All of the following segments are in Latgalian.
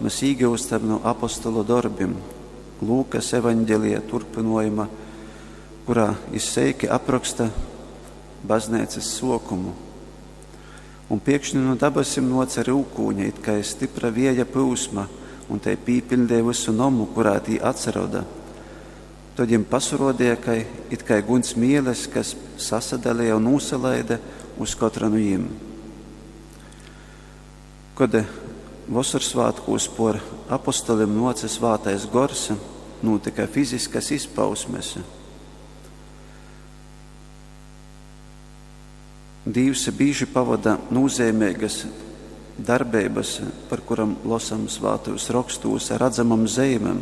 mēs īgūstam no apostolu dorbim, Lūkas evaņģelija turpinojuma, kurā izseiki apraksta baznīcas sokumu. Un piekšņi no dabasim noca rūkūņa, it kā stipra vieja pūsma, un te pīpildīja visu nomu, kurā tī atsaroda. Tad viņiem pasirodīja, ka it kā guns mieles, kas sasadalīja un nūsalaida uz katra no jiem. Kad Vosorsvātkūs por apostolim noca svātais gors, notika fiziskas izpausmes. Dīvs bīži pavada nozīmīgas darbības, par kuram losam svātajos rokstūs ar redzamam zeimēm,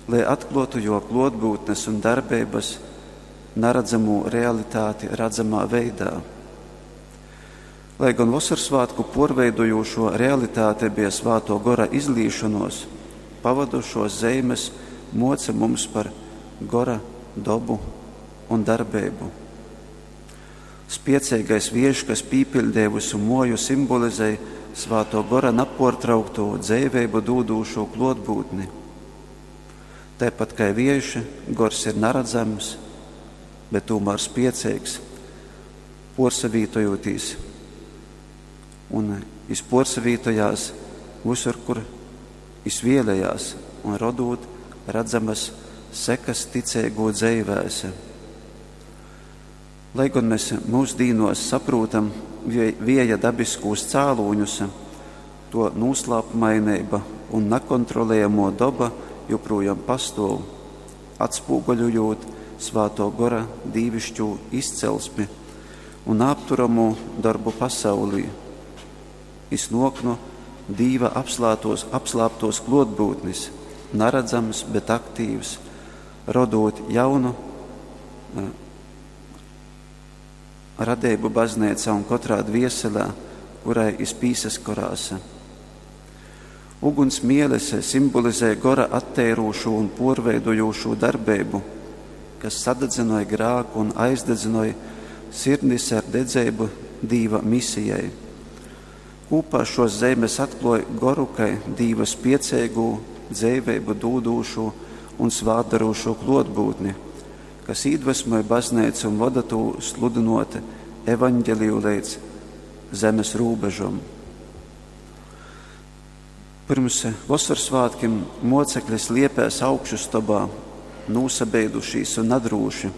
lai atklotu jo klotbūtnes un darbības naredzamo realitāti redzamā veidā. Lai gan Vosorsvātku porveidojošo realitāte bija svāto gora izlīšanos, pavadušos zeimes moca mums par gora dobu un darbību. Spiecīgais viež, kas pīpildīja visu moju, simbolizēja svāto gora naportraukto dzīvību dūdūšo klotbūtni. Tāpat kā vieši, gors ir naredzams, bet tomēr spiecīgs, porsavītojotīs un jis porsavītojās visur, kur jis vēlējās, un rodot redzamas sekas ticīgo dzeivēse. Lai gan mēs mūsdīnos saprotam vieja dabiskos cēloņus, to noslēpumainība un nekontrolējamo doba joprojām pastāv, atspoguļojot svāto gora dīvišķo izcelsmi un apturamo darbu pasaulī. Jis nok no Dīva apslātos, apslāptos klotbūtnis, naredzams, bet aktīvs, rodot jaunu radību baznīcā un katrā dvieselē, kurai iz pīsaskorās. Uguns mielese simbolizē gora atteirūšo un porveidojošo darbību, kas sadedzināja grāku un aizdedzināja sirdis ar dedzību Dīva misijai. Kopā šos zemes atklāja goru, kai Dīva spiecīgu, dzīvību dūdūšu un svātdarūšo klotbūtni, kas iedvesmoja baznīcu un vada to sludinot evaņģeliju līdz zemes rūbežam. Pirms Vosorsvātkiem mocekļi sliepēs augšustobā, nūsabeidušīs un nadrūši.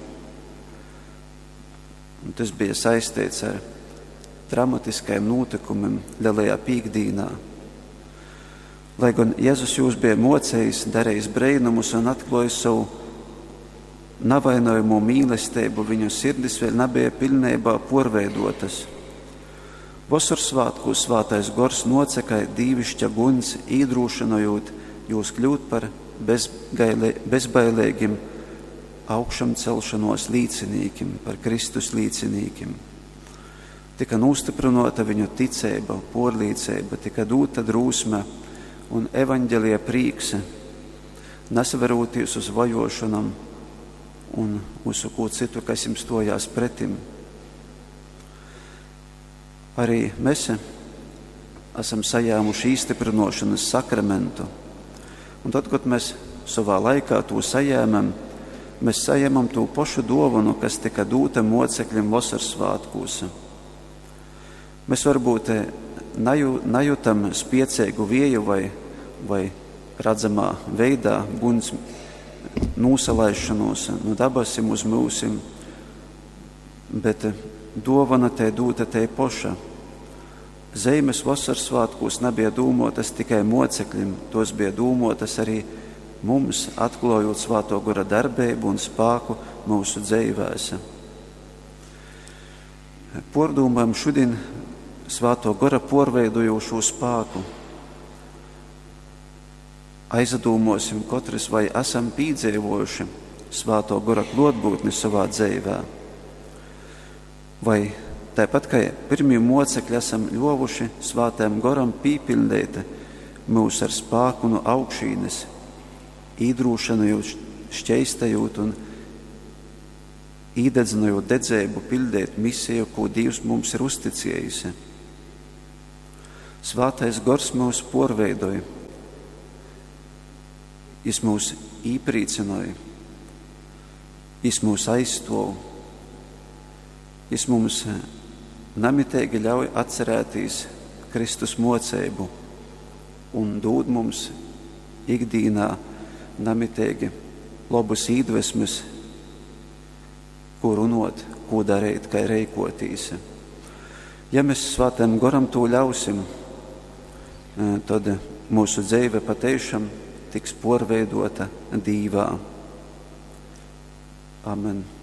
Un tas bija saistīts ar dramatiskajiem notikumiem Lielajā pīkdīnā. Lai gan Jēzus jūs bija mocējis, darījis brēnumus un atklājis savu navainojamo mīlestību, viņu sirdis vēl nebija pilnībā porveidotas. Vosorsvātkūs svātais gors nocekai dīvišķa guns, īdrūšinojot jūs kļūt par bezgaile, bezbailīgiem augšam celšanos līdzinīkim, par Kristus līdzinīkim. Tika nostiprinota viņu ticība, porlīdzība, tika dota drūsme un evaņģelie prīks, nesaverūties uz vajošanam un uz ko citu, kas jums stojās pretim. Arī mēs esam sajāmuši īstiprinošanas sakramentu. Un tad, kad mēs savā laikā to sajēmam, mēs sajēmam to pašu dovanu, kas tika dota mocekļiem Vasarsvātkūs. Mēs varbūt naju, najutam spiecīgu vieju vai, vai redzamā veidā guns nūsalaišanos no dabasim uz mūsim, bet dovana te dūta te poša. Zeimes vasarsvātkūs nebija dūmotas tikai mocekļim, tos bija dūmotas arī mums, atklājot svāto gora darbību un spāku mūsu dzeivēs. Pordūmājam šodien svāto gora porveidojošo spāku. Aizadūmosim katrs, vai esam pīdzīvojuši svāto gora klotbūtni savā dzīvē. Vai tāpat kā pirmie mocekļi esam ļovuši svātēm goram pīpildēt mūs ar spāku no augšīnes, īdrūšanojot, šķeistējot un īdedzinojot dedzēbu pildēt misiju, ko Dievs mums ir uzticējusi. Svātais gors mūs porveidoja, Jis mūs īprīcynoj, Jis mūs aizstuov, Jis mums namiteigi ļauj atcerētīs Kristus muoceibu un dūd mums ikdīnā namiteigi lobus īdvesmes, ko runot, ko darīt, kā reikotīs. Ja mēs Svētajam Goram tū ļausim, tad mūsu dzeive patiešām tiks porveidota Dīvā. Amen.